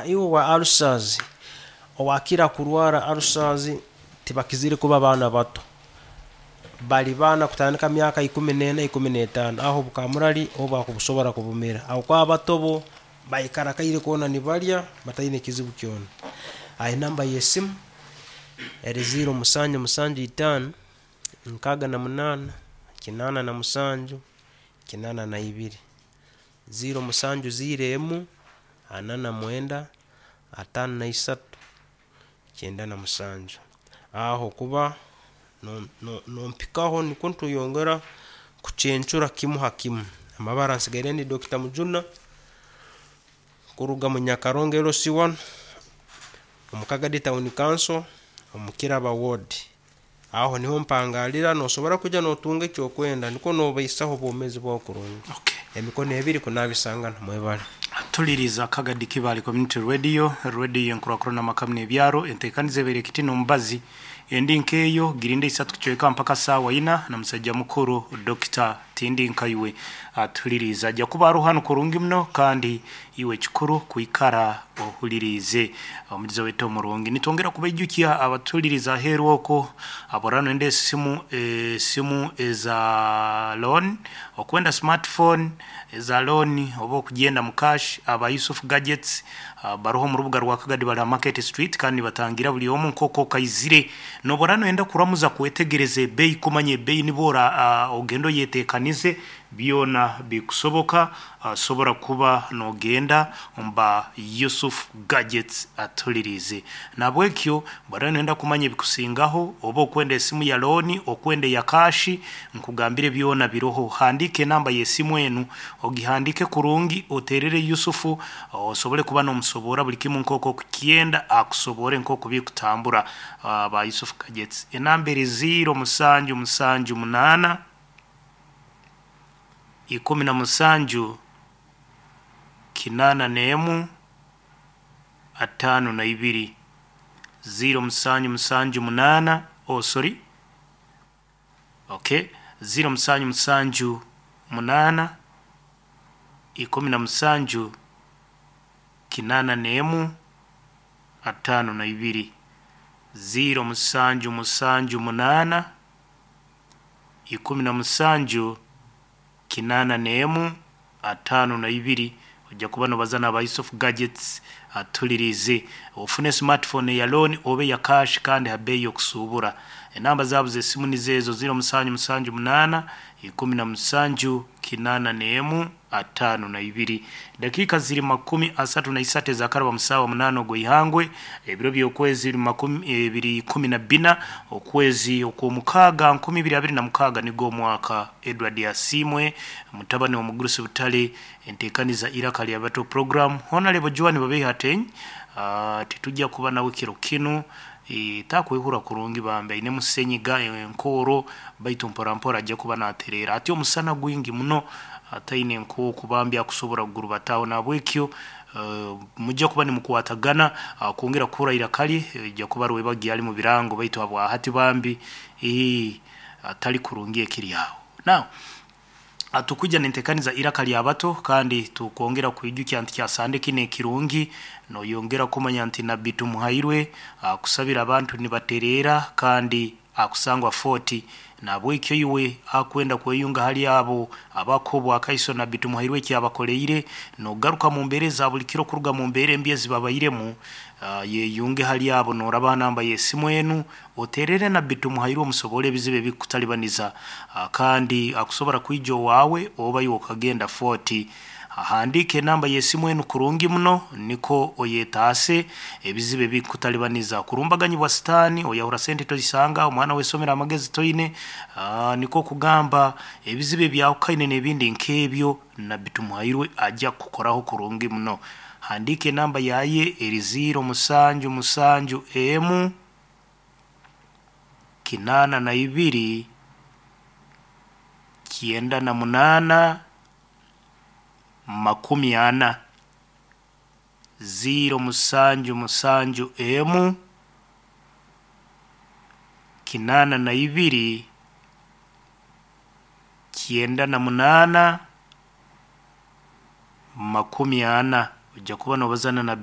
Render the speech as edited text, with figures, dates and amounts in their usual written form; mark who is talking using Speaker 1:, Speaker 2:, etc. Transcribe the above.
Speaker 1: Iwe owa ulcers, owakira kurwara ulcers tibakizire kuba baana bato. Bali baana kutandika myaka 14, 15, aho obukamurari obu akubusobora kubumira. Habwokuba abato bo baikara akaire koona nibarya bataine kizibu kyona. Enamba y'esimu eri 0 musanju musanju itaano, 68, 87, 82. 0 musanju 0 emu, 49, 53, 97. Aho kuba nompikaho nikwo ntweyongera kucencura kimu ha kimu. Amabara nsigaire ndi Dokita Mujuna kuruga mu Nyakarongo LC1 omu Kagadi Town Council omu Kiraba Ward. Aho niho mpangalira nosobora kwija notunga ekyokwenda nikwo nobaisaho obwomezi bwawe kurungi.
Speaker 2: Okay.
Speaker 1: Emikono ebiri kunabisangana mwebale.
Speaker 2: Tuliriza Kagadi Kibaale Community Radio, radio enkurakurana amaka n'ebyaro, entekaniza ebaire ekiti n'omubazi endi nk'eyo girinde isatu kucweka mpaka saawa ina na musajja mukuru Dokita Tindi Nkaiwe atuliriza. Ajja kuba aroho hanu kurungi muno kandi iwe kikuru kwikara ohuliriize omugizi waitu omurungi. Nitwongera kubaijukya abatuliriza aheeru okwo aborora noyenda esimu esimu eza loan, okwenda smartphone eza loan oba okugyenda mu cash, aba Yusuf Gadgets baroho omu rubuga rwa Kagadi bari aha Market Street kandi nibatangira buri omwe nk'oku okaizire. Nobora noyenda kuramuza kwetegereza ebeeyi kumanya ebeeyi nibo ora ogende oyeteekanize byona bikusoboka osobora kuba nogenda omu ba Yusuf Gadgets atuliriize. Nahabwekyo bworaba noyenda kumanya ebikusingaho oba okwenda esimu ya loan, okwenda eya cash, nkugambire byona biroho. Handiika enamba y'esimu enu ogihandiike kurungi oteerere Yusufu osobole kuba nomusoboora buri kimu nk'oku okukyenda akusoboore nk'oku bikutambura. Aba Yusuf Gadgets. Enamba eri ziiro musanju musanju munaana, 17, 81, 52. Ziiro musanju musanju munaana, oh sorry, okay, ziiro musanju musanju munaana, 17, 81, 52. Ziiro musanju musanju munaana, 17, 81, 52. Ojja kuba nobaza n'aba Yusuf Gadgets atuliriize. Ofune smartphone eya loan oba eya cash kandi ha beeyi y'okusuubura. Enamba zaabo z'esimu nizo ezo ziiro musanju musanju munaana, 17, 81, 52. Dakiika ziri 33 ezakaraba mu saawa munaana ogw'eihangwe, ebiro by'okwezi biri makumi biri 14 okwezi okw'omukaaga 2026 nigwo omwaka. Edward Asiimwe mutabani w'omugurusi Butare, enteekaniza Iraka lya Bato Program. Honarebo Joan Babeiha Ateny, titujja kuba nawe kiro kinu, takwehurra kurungi bambi ainemu senyiga, enkooro baitu mpora mpora ajja kuba natereera. Hati omusana gwingi muno ataine nk'oku bambi akusobora kugurubataho nahabwekyo mujja kuba nimukwatagana kwongera kuhurra iraka lye ojja kuba rwebagyo ali mu birango baitu habwahati bambi atali kurungi ekiri aho. Now tukwija nentekaniza Iraka lya Bato kandi tukwongera kwijukya nti kyasande kinu ekirungi noyongera kumanya nti Nabbi Tumuhairwe akusabira abantu nibatereera kandi akusangwa Fort. Nahabwekyo iwe akwenda kweyunga hali abo abakuha obwakaiso Nabbi Tumuhairwe eki abakoleire nogaruka mu mbeera eza buli kiro kuruga mu mbeera embi ezibabairemu, yeyunge hali abo noraba ha namba y'esimu enu oteerere Nabbi Tumuhairwe omusoboole ebizibu ebikukutalibaniza kandi akusobora kwija owaawe oba iwe okagenda Fort. Ahandiika enamba y'esimu enu kurungi muno nikwo oyetaase ebizibu ebikukutalibaniza. Kurumbaganyibwa sitaani, oyahura sente toisanga, omwana w'esomero amagezi toine, nikwo kugamba ebizibu ebyahukaine n'ebindi nk'ebyo Nabbi Tumuhairwe ajja kukukoraho kurungi muno. Handiika enamba yaye eri ziiro musanju musanju emu, 82, 98, 40. Ziiro musanju musanju emu, 82, 98, 40. Ojja kuba nobazana na Nabbi.